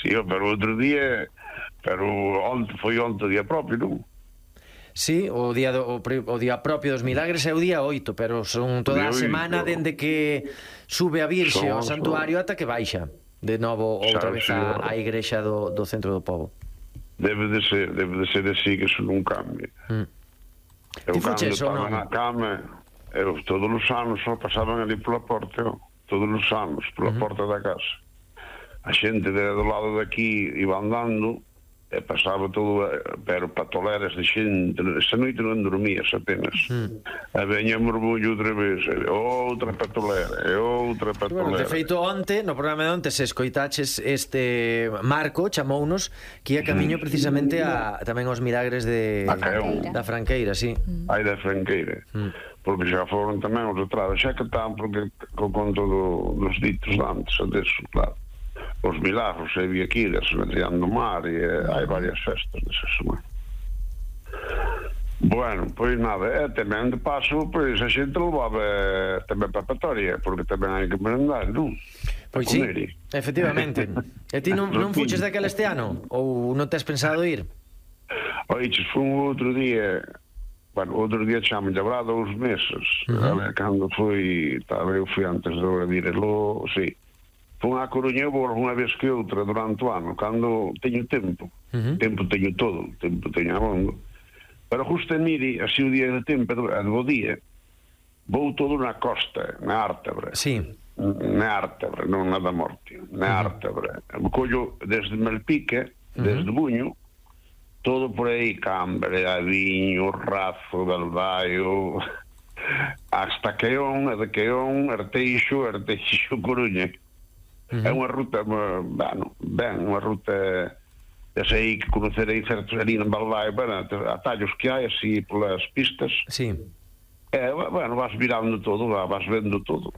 Si, pero outro día, pero foi onte o día propio, non? Sí, o día propio dos milagres é o día 8, pero son toda a semana dende que sube a Virxe ao santuario ata que baixa de novo outra vez á igrexa do centro do pobo. Debe de ser así, que eso non cambia. Ti fuches ou non? Na cama, todos os anos só pasaban ali pola porta, todos os anos, pola porta da casa. A xente do lado daqui iba andando, e pasaba todo, pero patoleras de xente. Esta noite non dormías apenas. A veña morbullo outra vez, outra patolera, e outra patolera. Bueno, de feito, onte, no programa de onte, se escoitaches este Marco, chamounos que ia camiño precisamente tamén aos milagres da Franqueira, sí. Ai, da Franqueira. Porque xa foron tamén os atrados, xa que están, porque con todo dos ditos antes, adesso, claro. Os milagros, e Viaquiras, Medellán do Mar, e hai varias festas desa semana. Bueno, pois nada, e tamén de paso, pois a xente levaba tamén papatoria, porque tamén hai que merendar, non? Pois sí, efectivamente. E ti non fuches daquela este ano? Ou non tes pensado ir? Oiches, foi un outro día, bueno, outro día chamo habrá 2 meses, cando foi, eu fui antes de virelo, sí. Fui a Coruña unha vez que outra durante o ano, cando teño tempo. Tempo teño todo, tempo teño abondo. Pero justo en Miri, así o día de tempo, do día, vou todo na costa, na Ártabra. Sí. Na Ártabra, non na da Morte, na Ártabra. Collo desde Malpica, desde Buño, todo por aí, Cambre, Aviño, Razo, Galvaio, hasta Queón, de Queón, Arteixo, Coruña. É unha ruta, bueno, unha ruta aí que conocerei certos ali en Balbái, bueno, atallos que hai así polas pistas. Sí. Bueno, vas virando todo, vas vendo todo.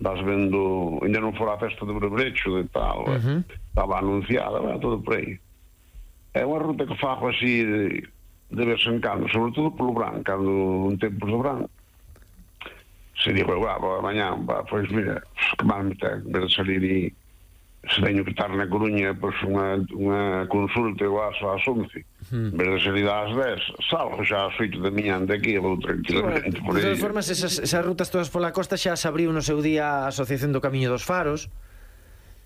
Vas vendo, ainda non fora a festa do Brebrecho de tal, estaba anunciada, todo por aí. É unha ruta que fago así de vez en cando, sobre todo polo Brán, cando un tempo do Brán. Se digo, mañá, pois mira, que mal me ten, en vez de salir e se teño que estar na Coruña, pois unha consulta ou ás 11, en vez de salir ás 10, salgo xa ás 8 da miña de aquí e vou tranquilamente por aí. De todas formas, esas rutas todas pola costa xa se abriu no seu día a Asociación do Camiño dos Faros.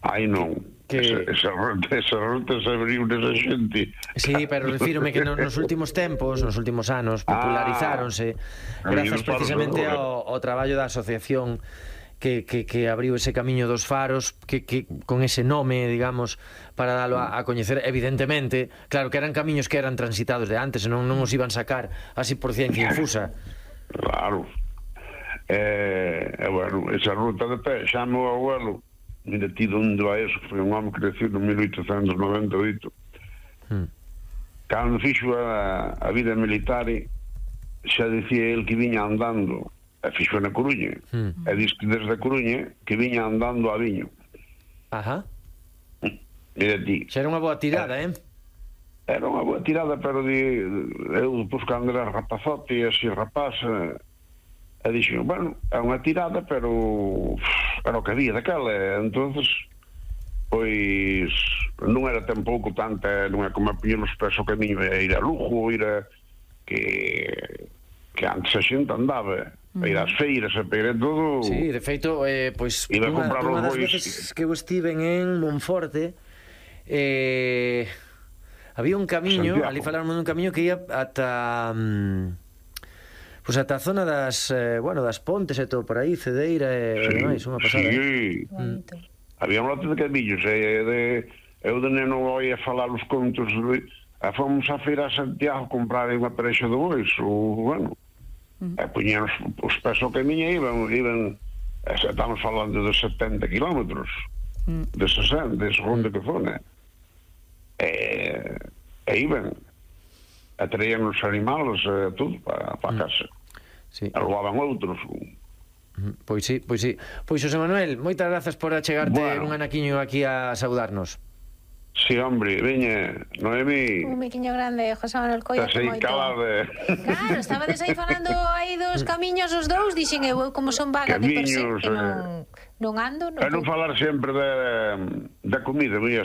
Ai, non. Esa ruta se abriu nesa xente. Sí, pero refírome que nos últimos tempos, nos últimos anos, popularizáronse grazas precisamente ao traballo da asociación que abriu ese Camiño dos Faros, que con ese nome, digamos, para dalo a coñecer. Evidentemente, claro que eran camiños que eran transitados de antes, non os iban sacar así por ciencia infusa. Claro. Bueno, esa ruta de pé, xa meu abuelo, mira ti onde vai eso, que foi un home que crecido en 1898. Cando fixo a vida militar, xa dicía el que viña andando, e fixo na Coruña, e diz que desde a Coruña que viña andando a Viño. Ajá. Mira ti. Xa era unha boa tirada, Era unha boa tirada, pero eu depois cando era rapazote e así rapaz, e dixo, bueno, é unha tirada, pero era o que había daquela, entonces pois non era tampouco tanta, non é como a poñer os pés ao camiño e ir a Lugo, ir a que antes a xente andaba a ir ás feiras, a pegar todo. Sí, de feito, pois unha das veces que eu estiven en Monforte, había un camiño, ali falaron dun camiño que ia ata pois ata a zona das Pontes e todo por aí, Cedeira e demais, unha pasada. Sí, había un lote de camiños, eu de neno oía falar os contos, fomos a feira a Santiago a comprar unha parexa de bois, bueno, e poñían os pés ao camiño e iban, estamos falando de 70 kilómetros, de 60, de segunda que zona, e iban, e traían os animales, tudo, para a casa. Sí. Roubaban outros. Pois sí. Pois, José Manuel, moitas grazas por achegarte un anaquiño aquí a saudarnos. Sí, hombre, veña, Noemi. Un miquiño grande, José Manuel Coia. Estás aí calade. Claro, estabades aí falando aí dos camiños os dous, dixen eu como son vaga de per sí, que non ando. Non falar sempre da comida,